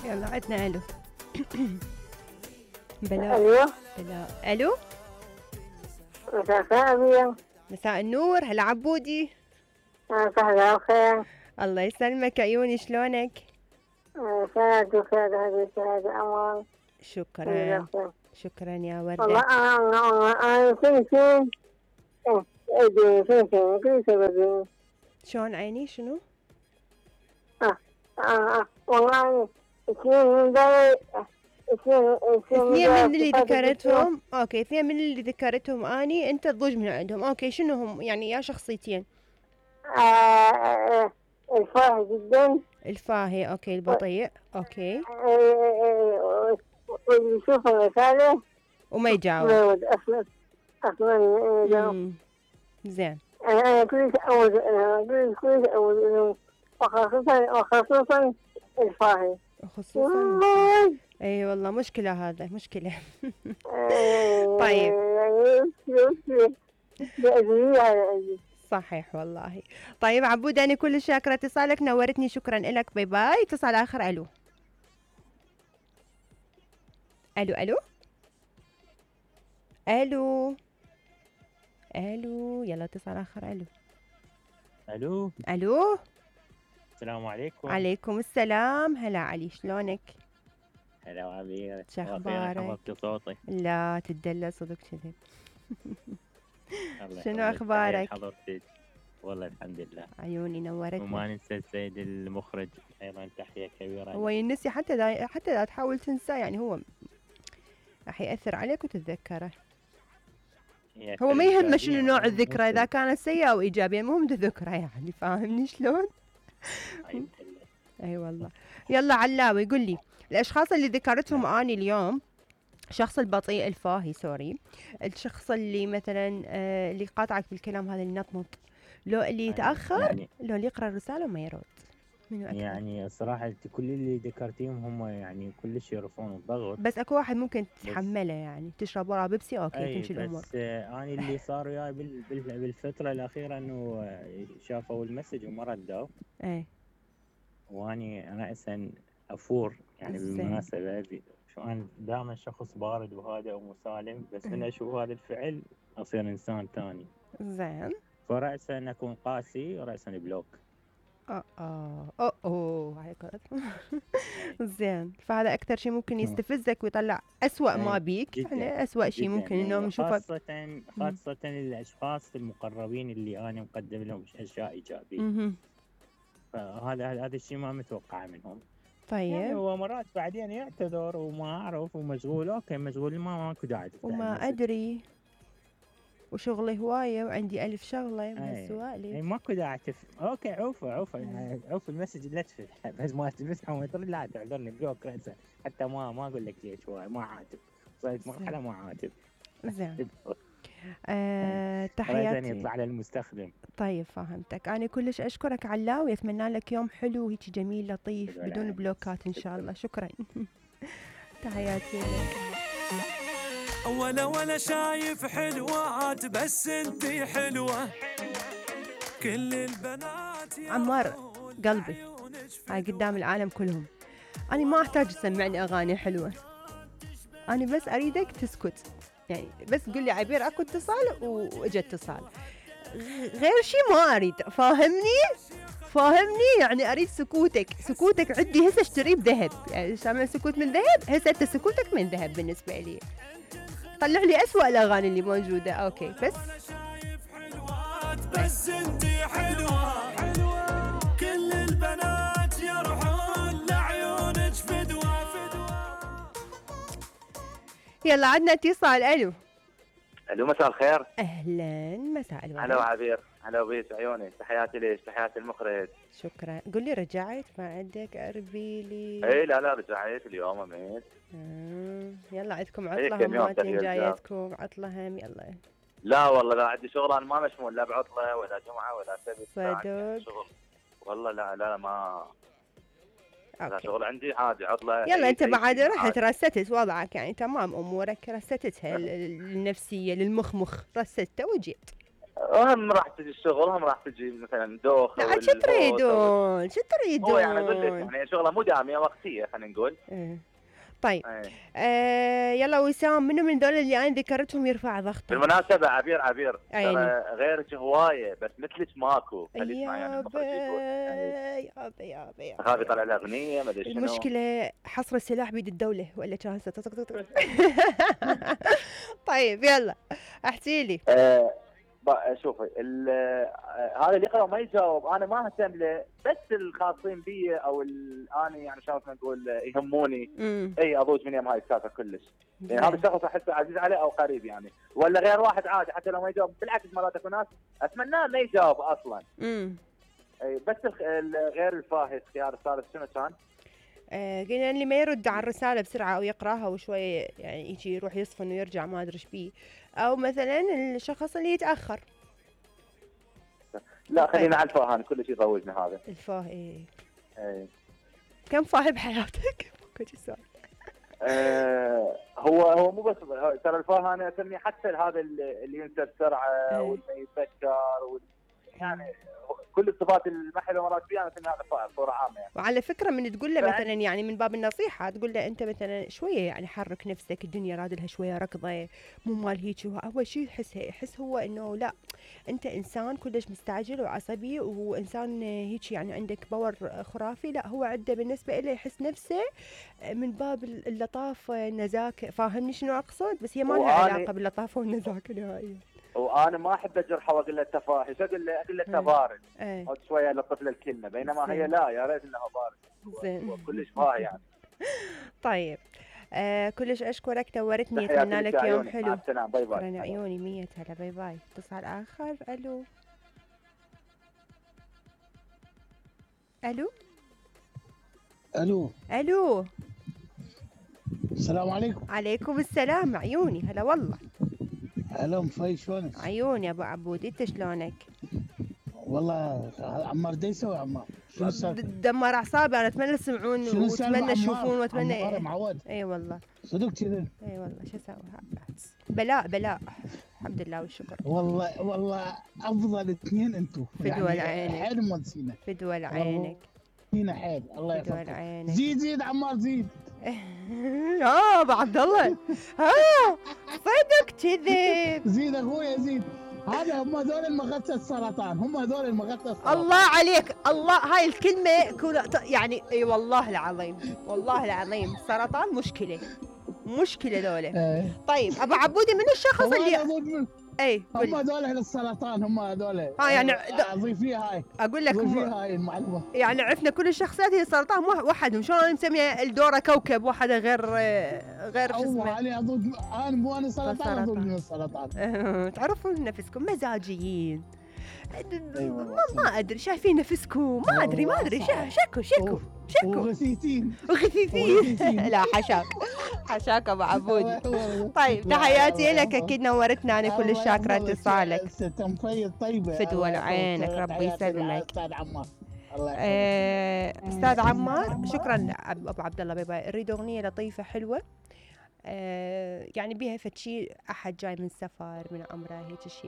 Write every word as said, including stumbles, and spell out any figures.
يلا عدنا الو. بلا الو بلا الو. مساء الخير. مساء النور. هلا عبودي. مساء الخير. الله يسلمك عيوني، شلونك؟ سعد وخير حبيبتي، هذا امان. شكرا شكرا يا وردة. والله انا انا فين فين شلون عيني شنو؟ اه اه والله اثنين اثنين من اللي ذكرتهم. اوكي اثنين من اللي ذكرتهم اني انت تضوج من عندهم. اوكي شنو هم يعني يا شخصيتين؟ آه الفاهي جدا. الفاهي اوكي. البطيء اوكي. واللي يشوف الرسالة وما يجاوب. ما يود اصلا اصلا يجاوب. زين. انا كلش اود كلش كلش اود وخصوصا وخصوصا الفاهي. خصوصا اي والله مشكلة، هذا مشكلة. طيب صحيح والله. طيب عبود انا كل شاكرة اتصالك، نورتني، شكرا لك، باي باي. اتصال اخر. الو الو الو الو الو. يلا اتصال اخر. الو الو الو. السلام عليكم. عليكم السلام. هلا علي، شلونك؟ هلا عبير، شو اخبارك؟ حفظت صوتي. لا تدلى صدق كذب. شنو اخبارك؟ حضرتك والله الحمد لله. عيوني نورتني. وما ننسى السيد المخرج ايضا، تحيه كبيره. هو ينسي حتى دا حتى لا تحاول تنسى، يعني هو راح ياثر عليك وتتذكره. هو ما يهمه شنو نوع الذكرى، اذا كانت سيئه او ايجابيه، المهم تذكره، يعني فاهمني شلون؟ اي والله. يلا علاوي قل لي الاشخاص اللي ذكرتهم اني اليوم، الشخص البطيء الفاهي سوري، الشخص اللي مثلا آه اللي قاطعك بالكلام، هذا اللي نطنط، لو اللي يتاخر، يعني لو اللي يقرا الرساله وما يرد. يعني الصراحه كل اللي ذكرتيهم هم يعني كلش يرفعون الضغط، بس اكو واحد ممكن تتحمله، يعني تشرب وراه بيبسي اوكي تمشي الامور. بس آه انا اللي صار وياي بالفتره الاخيره انه شافوا المسج وما ردوا. اي واني انا اساسا افور يعني بالمناسبه شو انا دائما شخص بارد وهادئ ومسالم، بس من اشوف هذا الفعل اصير انسان ثاني. زين. فرأسا اكون قاسي ورأسا بلوك. اه اه اه اوه هاي قرأت. زين. فهذا اكثر شيء ممكن يستفزك ويطلع اسوأ ما بيك، يعني اسوأ شيء ممكن انه نشوفه، خاصة خاصة الاشخاص المقربين اللي انا مقدم لهم اشياء ايجابية. فهذا هذا الشيء ما متوقعه منهم. طيب يعني هو مرات بعدين يعتذر وما اعرف ومشغول. اوكي مشغول، ما ماكو داعي وما ادري وشغلي هوايه وعندي الف شغله من سوالي. اي ماكو داعي تف... اوكي عوفه عوفه يعني عوف المسج لا تفتح، بس ما تمسحه وما ترد، لا تعذرني بلوك راسا، حتى ما ما اقول لك ليش شوي ما عاتب، صرت مرحله ما عاتب. زين. آه، تحياتي. يطلع على المستخدم. طيب فهمتك. انا كلش اشكرك علاوي، اتمنى لك يوم حلو وهيك جميل لطيف بدون بلوكات ان شاء الله. شكرا. تحياتي لك. ولا ولا شايف حلوات بس انتي حلوة، كل البنات عمار قلبي هاي قدام العالم كلهم، أنا ما أحتاج تسمعني أغاني حلوة، أنا بس أريدك تسكت، يعني بس قل لي عبير أكو اتصال وإجا اتصال، غير شي ما أريد. فاهمني فاهمني يعني أريد سكوتك. سكوتك عندي هسه اشتريه بذهب، يعني شامل سكوت من ذهب، هسه أنت سكوتك من ذهب بالنسبة لي. طلع لي أسوأ الأغاني اللي موجودة. أوكي بس بس انتي حلوة حلوة، كل البنات يروحون لعيونك فدوة فدوة. يلا عندنا اتصال. الو الو مساء الخير. اهلا مساء الورد. هلا عبير. هلا بيس عيوني، تحياتي ليش، تحياتي المخرج. شكرا. قل لي رجعت ما عندك اربي لي؟ اي لا لا رجعت اليوم امين. آه. يلا عندكم عطله هماتين جايتكم عطله هم. يلا لا والله لا عندي شغل، انا ما مشمول لا بعطله ولا جمعه ولا سبت. صدق شغل والله. لا لا ما لا شغل عندي عادي عطله. يلا انت بعد رحت رستت وضعك، يعني تمام امورك رستتها النفسيه للمخمخ رستته وجيت. هم راح تجي الشغل، هم راح تجي مثلا دوخه. لا شو تريدون شو تريدون؟ هو يعني اقول لك يعني شغله مو داميه وقتيه خلينا نقول. إيه. طيب ايه. آه يلا وسام، منو من دول اللي انا ذكرتهم يرفع ضغطه؟ بالمناسبه عبير عبير عيني. ترى غيرك هوايه بس مثلك ماكو. خليك معي يعني يابا المخرج يقول. يعني يابا يابا يابا خاف يطلع لها اغنيه ما ادري شنو. المشكلة حصر السلاح بيد الدولة ولا كان طيب يلا احكي لي. آه بقى شوفي ال- آه، هذا اللي يقرا وما يجاوب انا ما اهتم له، بس الخاصين بي او ال- انا يعني شلون نقول آه، يهموني. امم اي اضوج من يم هاي السالفه كلش. يعني هذا الشخص احسه عزيز عليه او قريب يعني، ولا غير واحد عادي حتى لو ما يجاوب. بالعكس مرات اكو ناس اتمناه ما يجاوب اصلا. امم اي بس الخ- ال- غير الفاهز خيار الثالث شنو كان؟ آه قلنا اللي ما يرد على الرسالة بسرعة او يقراها وشوية يعني يجي يروح يصفن ويرجع ما ادري ايش بيه، او مثلا الشخص اللي يتأخر. لا خلينا على الفاهان كل شيء يضوجنا هذا. الفاه ايه. اي. كم فاه بحياتك؟ كل سؤال. آه هو هو مو بس ترى الفاه انا اسميه حتى هذا اللي اللي ينسى بسرعه واللي يتذكر وال... يعني كل الصفات المحلة مرات فيها انا اسميها هذا فاه بصوره عامه يعني. وعلى فكرة من تقول له بعد- مثلا يعني من باب النصيحة تقول له انت مثلا شوية يعني حرك نفسك، الدنيا رادلها شوية ركضة مو مال هيك. هو اول شيء يحس يحس هو انه لا انت انسان كلش مستعجل وعصبي وانسان هيك يعني عندك باور خرافي. لا هو عنده بالنسبة له يحس نفسه من باب اللطافة النزاكة. فاهمني شنو اقصد؟ بس هي ما لها وأنا- علاقة باللطافة والنزاكة نهائيا. وانا ما احب اجرحه واقول له تفاحش، اقول له اقول له انت بارد ايه او شويه لطف له الكلمه، بينما هي لا يا ريت انه بارد. زين. هو كلش فاه يعني. طيب آه كلش اشكرك نورتني، تحياتي اتمنى لك لك يا يوم عيوني. مع حلو. السلامه باي باي. شكرا عيوني مية هلا باي باي. اتصال اخر. الو الو الو الو السلام عليكم. عليكم السلام عيوني هلا والله. هلا مفي شلونك؟ عيوني ابو عبود انت شلونك؟ والله عمار دا يسوي عمار؟ شنو السالفه؟ د- دمر اعصابي انا. اتمنى تسمعون شنو السالفة واتمنى عمار؟ تشوفون واتمنى عمار اي معود اي والله صدق كذا. اي والله شو اسوي. بلاء بلاء الحمد لله والشكر. والله والله افضل اثنين انتم فدوى العينك. حيل مودسينا فدوى عينك. فينا حيل الله فدوى يحفظك. عينك. زيد زيد عمار زيد. اه ابو عبد الله ها صدق كذب. زيد اخويا زيد. هذا هم هذول المغثى السرطان، هم هذول المغثى السرطان. الله عليك الله. هاي الكلمة كلها ط- يعني اي والله العظيم والله العظيم سرطان مشكلة مشكلة ذولا. ايه. طيب ابو عبودي من الشخص هو اللي أنا أقول من- اي هم قول. هذول اهل السرطان هم هذول. اه يعني آه، ضيفيها هاي اقول لك م- ضيفيها هاي المعلومة. يعني عرفنا كل الشخصيات هي سرطان مو وحدهم. شلون أنا مسميه الدورة كوكب واحدة غير غير شو هو اسمه. انا اضوج انا مو انا سرطان سرطان. اضوج من السرطان. تعرفون نفسكم مزاجيين. أي والله. ما, ما ادري شايفين نفسكم ما ادري ما ادري شا- شكو شكو أوف. شكو وغثيثين وغثيثين. وغثيثين. لا حشاك حشاك ابو عبودي. طيب تحياتي لك اكيد نورتنا. انا كل الشاكره اتصالك. ست مفيد طيبه. فدوى الله عينك، يحفظك. ربي تحياتي يسلمك. لأستاذ عمار. الله يحفظك. آه، استاذ عمار شكرا ابو عبد الله باي باي. اريد اغنيه لطيفه حلوه آه، يعني بيها فد شي احد جاي من سفر من عمره هيك شيء